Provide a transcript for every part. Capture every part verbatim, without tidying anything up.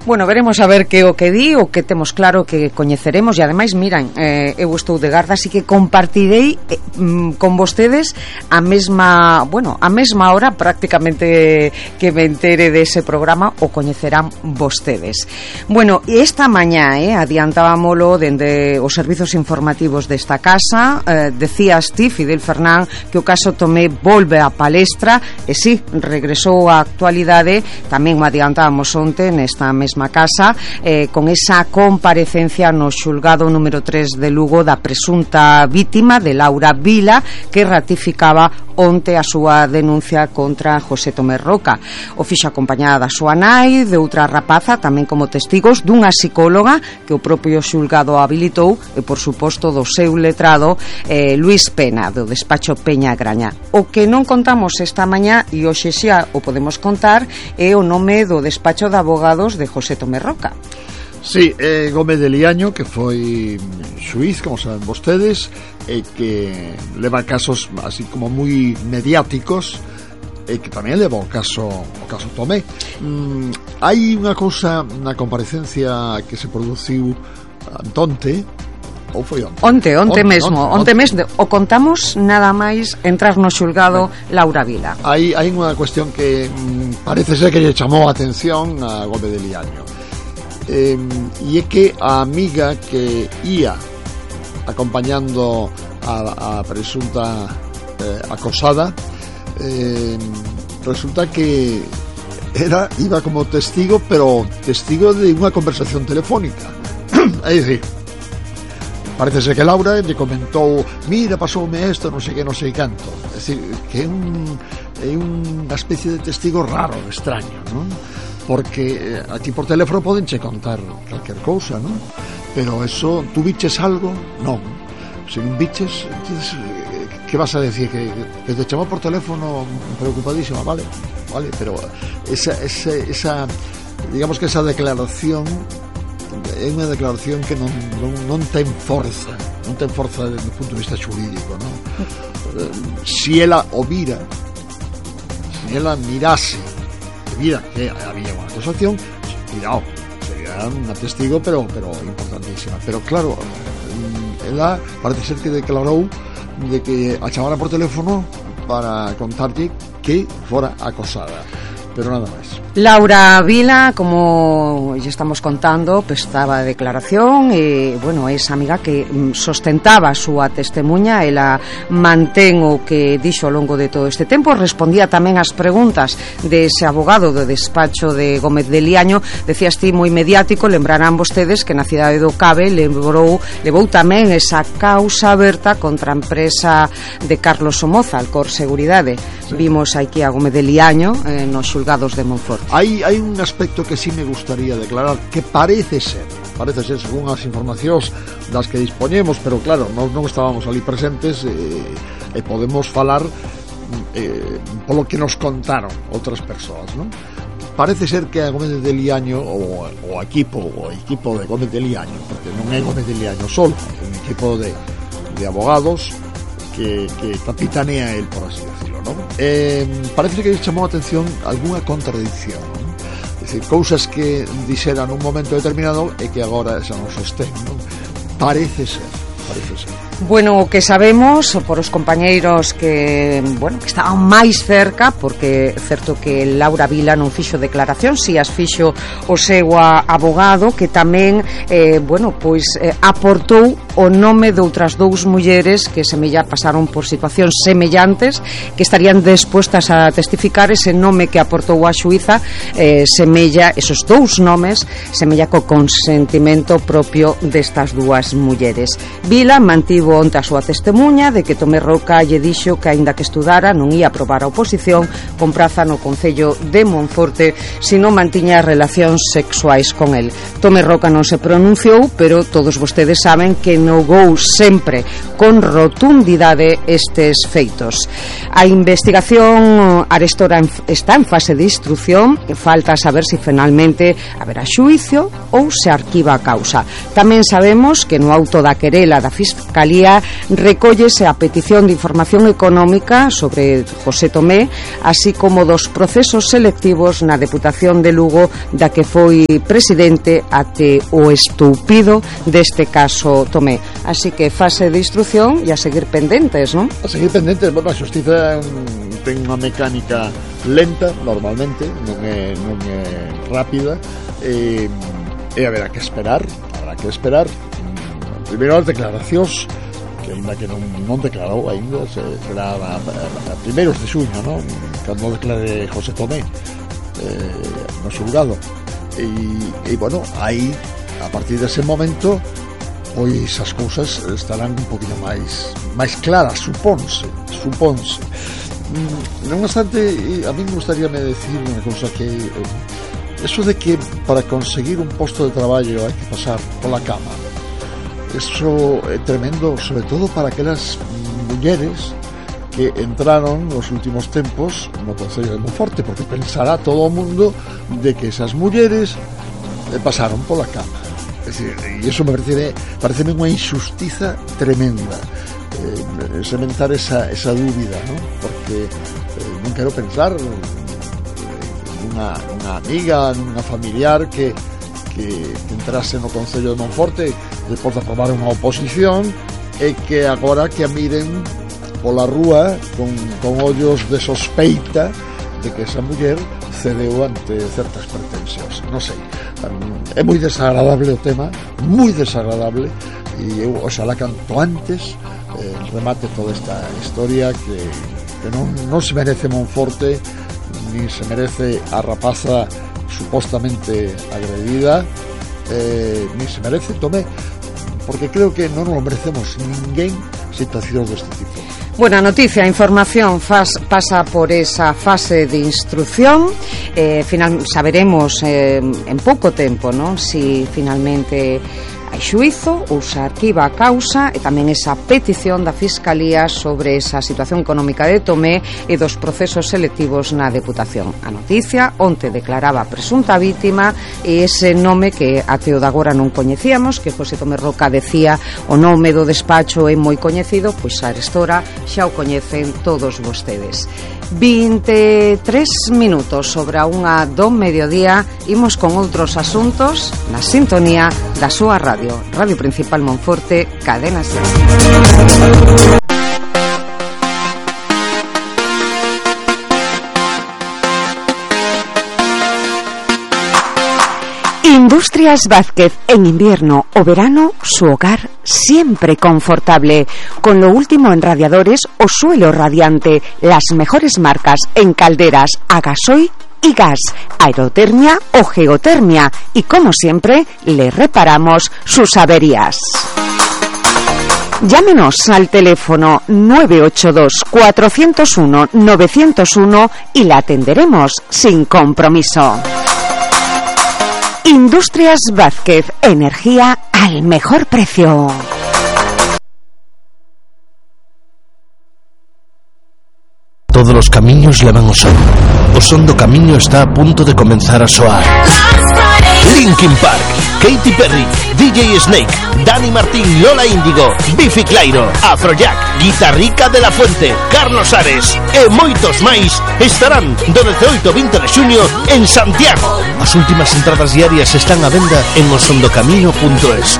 Bueno, veremos a ver que o que di, o que temos claro que coñeceremos, e ademais, miran, eh, eu estou de garda, así que compartirei eh, con vostedes a mesma, bueno, a mesma hora prácticamente que me entere dese programa, o coñecerán vostedes. Bueno, esta mañá, eh, adiantábamolo dende os servizos informativos desta casa, eh, decías ti, Fidel Fernán, que o caso Tomé volve á palestra, e si, regresou á actualidade, tamén o adiantábamos onte nesta mesma casa, eh, con esa comparecencia no xulgado número tres de Lugo da presunta vítima de Laura Vila, que ratificaba onte a súa denuncia contra José Tomé Roca. O fixo acompañada da súa nai, de outra rapaza, tamén como testigos, dunha psicóloga que o propio xulgado habilitou, e por suposto do seu letrado, eh, Luis Pena, do despacho Peña Graña. O que non contamos esta mañá, e hoxe xa o podemos contar, é o nome do despacho de abogados de José Tomé Roca. Sí, eh, Gómez de Liaño, que foi xuiz, como saben vostedes, e eh, que leva casos así como moi mediáticos, e eh, que tamén leva o caso o caso Tomé. Mm, hai unha cousa na comparecencia que se produciu antonte, ou foi onte? Onte, onte, onte mesmo, onte, onte, onte mesmo. O contamos nada máis entrar no xulgado Laura Vila. Hai, hai unha cuestión que mm, parece ser que lle chamou a atención a Gómez de Liaño. Eh, e é que a amiga que ia acompañando a, a presunta eh, acosada, eh, resulta que era iba como testigo, pero testigo de unha conversación telefónica. É dicir, parece ser que Laura lle comentou: mira, pasoume isto, non sei que, non sei canto. É dicir, que é un é unha especie de testigo raro, extraño, non? Porque aquí por teléfono podenche contar calquer cousa, non? Pero eso, tú biches algo? Non. Se non biches, entonces, que vas a decir? Que, que te chamou por teléfono preocupadísima, vale, vale, pero esa, esa, esa, digamos que esa declaración é unha declaración que non, non, non ten forza, non ten forza desde o punto de vista xurídico, non? Si ela o vira, si ela mirase, mira que había unha acusación, cuidado, sería un testigo pero pero importantísima. Pero claro, ela parece ser que declarou de que a chamara por teléfono para contarlle que fora acosada, pero nada máis. Laura Vila, como ya estamos contando, prestaba declaración e, bueno, esa amiga que sostentaba a súa testemunha, ela mantén o que dixo ao longo de todo este tempo, respondía tamén ás preguntas de ese abogado do despacho de Gómez de Liaño. Decías ti, moi mediático, lembrarán vostedes que na cidade do Cabe levou, levou tamén esa causa aberta contra a empresa de Carlos Somoza, Alcor Seguridade. Sí. Vimos aquí a Gómez de Liaño eh, nos xulgados de Monfort. Hai, hai un aspecto que sí me gustaría declarar, que parece ser, parece ser, según as informacións das que dispoñemos, pero claro, nós non estábamos ali presentes, e, e podemos falar eh, polo que nos contaron outras persoas, non? Parece ser que a Gómez de Liaño, o, o equipo, o equipo de Gómez de Liaño, porque non é Gómez de Liaño solo, é un equipo de, de abogados que, que capitanea el, por así decirlo, non? Eh, parece que chamou a atención algunha contradicción, non? É dicir, cousas que dixera nun momento determinado e que agora xa non sostén, non? Parece ser, parece ser. Bueno, o que sabemos por os compañeiros que, bueno, que estaban máis cerca, porque é certo que Laura Vila non fixo declaración, si as fixo o seu abogado, que tamén eh, bueno, pois eh, aportou o nome de outras dous mulleres que semella pasaron por situacións semellantes, que estarían dispuestas a testificar. Ese nome que aportou a xuíza eh, semella, esos dous nomes semella co consentimento propio destas dúas mulleres. Vila mantivo onte a súa testemunha de que Tomé Roca lle dixo que aínda que estudara non ia aprobar a oposición con praza no concello de Monforte se non mantiña relacións sexuais con el. Tomé Roca non se pronunciou, pero todos vostedes saben que negou sempre con rotundidade estes feitos. A investigación arestora está en fase de instrucción e falta saber se finalmente haberá xuicio ou se arquiva a causa. Tamén sabemos que no auto da querela da Fiscalía Fiscalía recóllese a petición de información económica sobre José Tomé, así como dos procesos selectivos na Deputación de Lugo, da que foi presidente até o estúpido deste caso Tomé. Así que fase de instrucción e a seguir pendentes, non? A seguir pendentes, bueno, a xustiza ten unha mecánica lenta normalmente, non é, non é rápida, e, e haberá que esperar haberá que esperar primeiro as declaracións, que ainda que non, non declarou ainda, se, será a, a, a primeiros de xuño, non? Cando declare José Tomé eh, no xulgado, e, e bueno, aí a partir dese momento pois as cousas estarán un poquinho máis máis claras, supónse supónse non obstante, a mí me gustaría me decir unha cousa, que eh, eso de que para conseguir un posto de traballo hai que pasar pola cama, eso é tremendo, sobre todo para aquelas mulleres que entraron nos últimos tempos no Concello de Monforte, porque pensará todo o mundo de que esas mulleres eh, pasaron pola cama. Es decir, e iso me parece pareceme unha injustiza tremenda, eh, sementar esa, esa dúbida, ¿no? Porque eh, non quero pensar nunha, nunha amiga, nunha familiar que, que, que entrase no Concello de Monforte depois de aprobar unha oposición e que agora que a miren pola rúa con, con ollos de sospeita de que esa muller cedeu ante certas pretensións. Non sei, é moi desagradable o tema, moi desagradable, e eu oxalá canto antes eh, remate toda esta historia que, que non, non se merece Monforte, ni se merece a rapaza supostamente agredida, eh, ni se merece Tomé, porque creo que non nos merecemos ninguén situacións deste tipo. Buena noticia, a información faz, pasa por esa fase de instrucción, eh, final, saberemos eh, en pouco tempo, ¿no?, si finalmente hai xuízo ou se arquiva a causa, e tamén esa petición da Fiscalía sobre esa situación económica de Tomé e dos procesos selectivos na Deputación. A noticia onte declaraba presunta vítima, e ese nome que até o de agora non coñecíamos, que José Tomé Roca decía o nome do despacho é moi coñecido, pois a arestora xa o coñecen todos vostedes. vinte e tres minutos sobre a unha do mediodía, imos con outros asuntos na sintonía da súa radio. Radio Principal Monforte, Cadena SER. Industrias Vázquez, en invierno o verano, su hogar siempre confortable. Con lo último en radiadores o suelo radiante, las mejores marcas en calderas a gasoil y gas, aerotermia o geotermia, y como siempre le reparamos sus averías. Llámenos al teléfono nueve ocho dos, cuatro cero uno, nueve cero uno y la atenderemos sin compromiso. Industrias Vázquez, energía al mejor precio. Todos los camiños levan o son. O son do camiño está a punto de comenzar a soar. Linkin Park, Katy Perry, D J Snake, Dani Martín, Lola Índigo, Bifi Clyro, Afrojack, Guitarrica de la Fuente, Carlos Ares e moitos máis estarán do dezaoito ao vinte de xuño en Santiago. As últimas entradas diarias están á venda en osondocamiño punto es.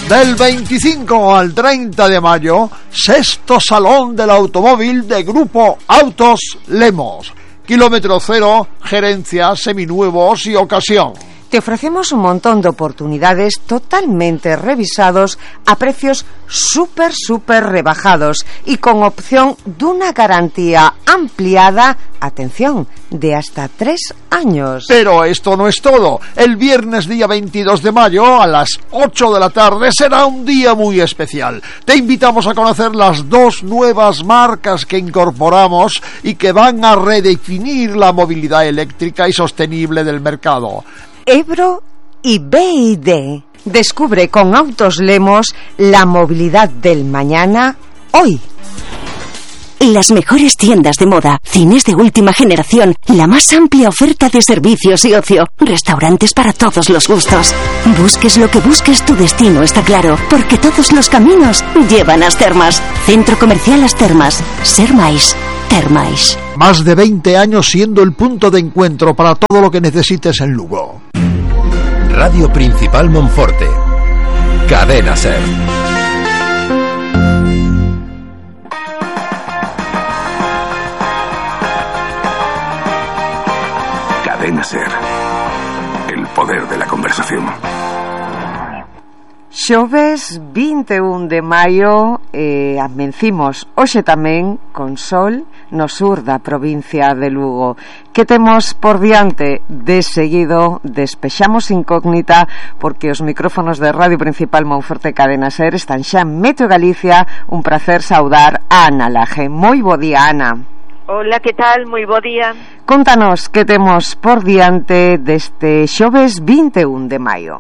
Del veinticinco al treinta de mayo, sexto Salón del Automóvil de Grupo Autos Lemos. Kilómetro cero, gerencia, seminuevos y ocasión. Te ofrecemos un montón de oportunidades totalmente revisados a precios súper, súper rebajados y con opción de una garantía ampliada, atención, de hasta tres años. Pero esto no es todo. El viernes día veintidós de mayo a las ocho de la tarde será un día muy especial. Te invitamos a conocer las dos nuevas marcas que incorporamos y que van a redefinir la movilidad eléctrica y sostenible del mercado. Ebro y B Y D. Descubre con Autos Lemos la movilidad del mañana hoy. Las mejores tiendas de moda, cines de última generación, la más amplia oferta de servicios y ocio, restaurantes para todos los gustos. Busques lo que busques, tu destino está claro, porque todos los caminos llevan a As Termas. Centro Comercial As Termas. Ser máis, ter máis. Más de veinte años siendo el punto de encuentro para todo lo que necesites en Lugo. Radio Principal Monforte. Cadena Ser. Cadena Ser. El poder de la conversación. Xoves vinte e un de maio e eh, amencimos hoxe tamén con sol no sur da provincia de Lugo. Que temos por diante? De seguido despexamos incógnita porque os micrófonos de Radio Principal Monforte Cadena Ser están xa en Meteo Galicia. Un placer saudar a Ana Laje. Moi bo día, Ana. Hola, que tal? Moi bo día. Contanos que temos por diante deste xoves vinte e un de maio.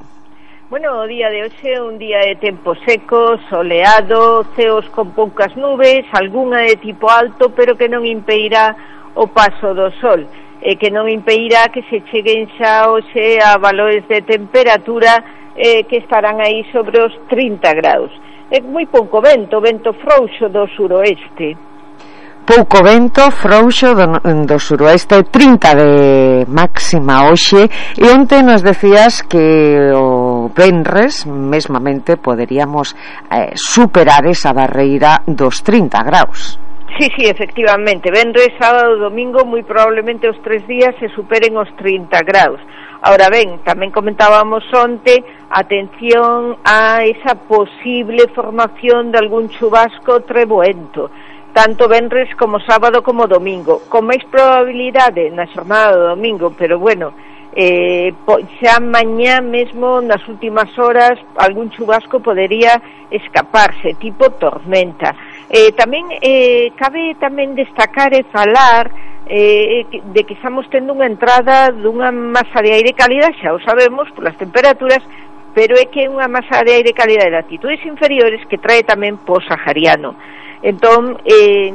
Bueno, o día de hoxe é un día de tempo seco, soleado, ceos con poucas nubes, algunha de tipo alto, pero que non impedirá o paso do sol, e que non impedirá que se cheguen xa hoxe a valores de temperatura eh, que estarán aí sobre os trinta graus. É moi pouco vento, vento frouxo do suroeste. Pouco vento, frouxo do, do suroeste, trinta de máxima hoxe, e onte nos decías que o venres mesmamente poderíamos eh, superar esa barreira dos trinta graus. Sí, sí, efectivamente, venres, sábado, domingo, moi probablemente os tres días se superen os trinta graus. Ahora ben, tamén comentábamos onte, atención a esa posible formación de algún chubasco treboento, tanto venres como sábado como domingo, con máis probabilidade na xornada do domingo, pero bueno, eh, xa mañá mesmo nas últimas horas algún chubasco podería escaparse, tipo tormenta. Eh, tamén eh, cabe tamén destacar e falar eh, de que estamos tendo unha entrada dunha masa de aire cálida, xa o sabemos polas temperaturas, pero é que é unha masa de aire cálida de latitudes inferiores que trae tamén posahariano. Entón, eh,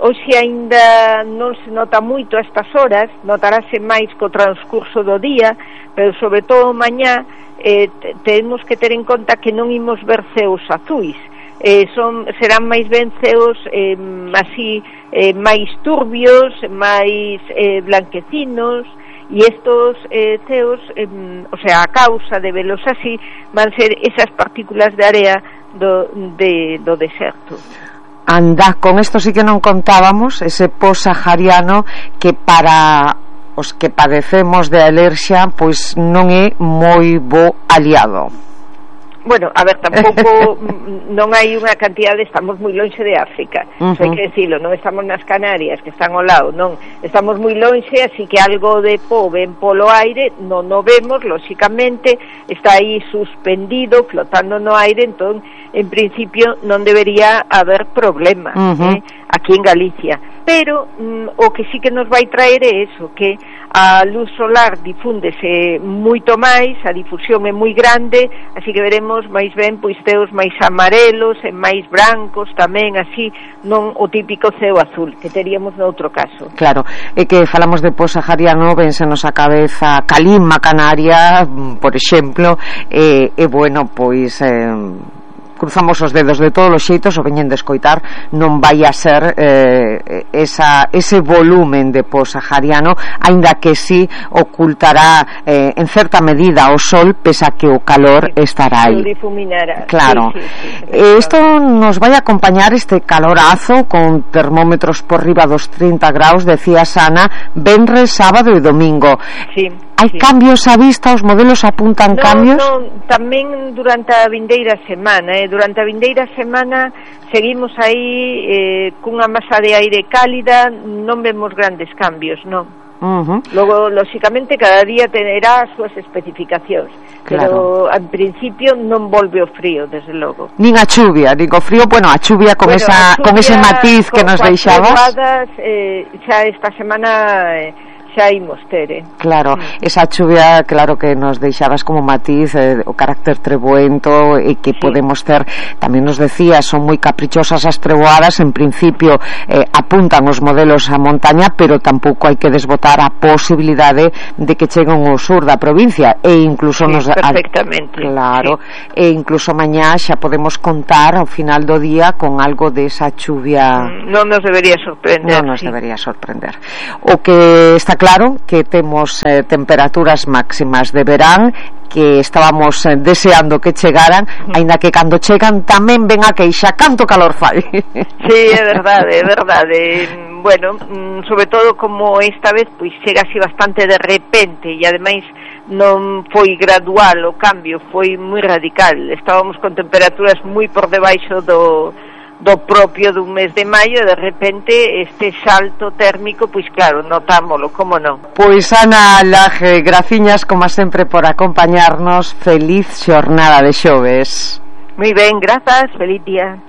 hoxe aínda non se nota moito a estas horas, notarase máis co transcurso do día, pero sobre todo mañá eh, temos que ter en conta que non imos ver ceos azuis, eh, son, serán máis ben ceos eh, así, eh, máis turbios, máis eh, blanquecinos, e estos eh, ceos, eh, o sea, a causa de velos así, van ser esas partículas de area do, de, do deserto. Anda, con esto sí que non contábamos, ese posahariano que para os que padecemos de alerxia pois non é moi bo aliado. Bueno, a ver, tampouco non hai unha cantidade, estamos moi lonxe de África, uh-huh. Hai que decirlo, non estamos nas Canarias que están ao lado, non, estamos moi lonxe, así que algo de po ven polo aire, non o vemos, lóxicamente está aí suspendido, flotando no aire, entón en principio non debería haber problema, uh-huh. eh, aquí en Galicia, pero mm, o que sí que nos vai traer é eso, que a luz solar difúndese moito máis, a difusión é moi grande, así que veremos máis ben pois ceos máis amarelos e máis brancos tamén, así, non o típico ceo azul que teríamos noutro caso. Claro, é que falamos de posahariano, vensenos a cabeza Calima Canaria, por exemplo, e, e bueno, pois eh, cruzamos os dedos de todos os xeitos, o veñen de escoitar, non vai a ser eh, esa, ese volumen de posahariano, aínda que sí ocultará eh, en certa medida o sol, pese a que o calor estará aí. Claro. Sí, sí, sí, Isto nos vai a acompañar, este calorazo con termómetros por riba dos trinta graus, decía Sana, venres, sábado e domingo. Sí. Hai sí. cambios á vista, os modelos apuntan no, cambios? Non, tamén durante a vindeira semana, eh, durante a vindeira semana seguimos aí eh, cunha masa de aire cálida, non vemos grandes cambios, non. Uh-huh. Logo, lóxicamente, cada día terá as súas especificacións, claro. Pero en principio non volve o frío, desde logo. Nin a chuvia, nin o frío, bueno, a chuvia con, bueno, esa, chuvia, con ese matiz que nos deixabas. Eh, xa esta semana... Eh, xa imos ter, eh? Claro, esa chuvia, claro que nos deixabas como matiz eh, o carácter treboento e que sí. podemos ter, tamén nos decías, son moi caprichosas as treboadas, en principio eh, apuntan os modelos a montaña, pero tampouco hai que desbotar a posibilidade de que cheguen ao sur da provincia e incluso sí, nos perfectamente, a, claro, sí. e incluso mañá xa podemos contar ao final do día con algo de esa chuvia. Non nos debería sorprender. Non nos sí. debería sorprender. O que está claro que temos eh, temperaturas máximas de verán que estábamos eh, deseando que chegaran, aínda que cando chegan tamén ven a queixa canto calor fai. Sí, é verdade, é verdade. Bueno, sobre todo como esta vez pois chega así bastante de repente e ademais non foi gradual o cambio, foi moi radical. Estábamos con temperaturas moi por debaixo do do propio dun mes de maio e de repente este salto térmico, pois claro, notámolo, como non. Pois Ana Laje, graciñas como sempre por acompañarnos, feliz xornada de xoves. Moi ben, grazas, feliz día.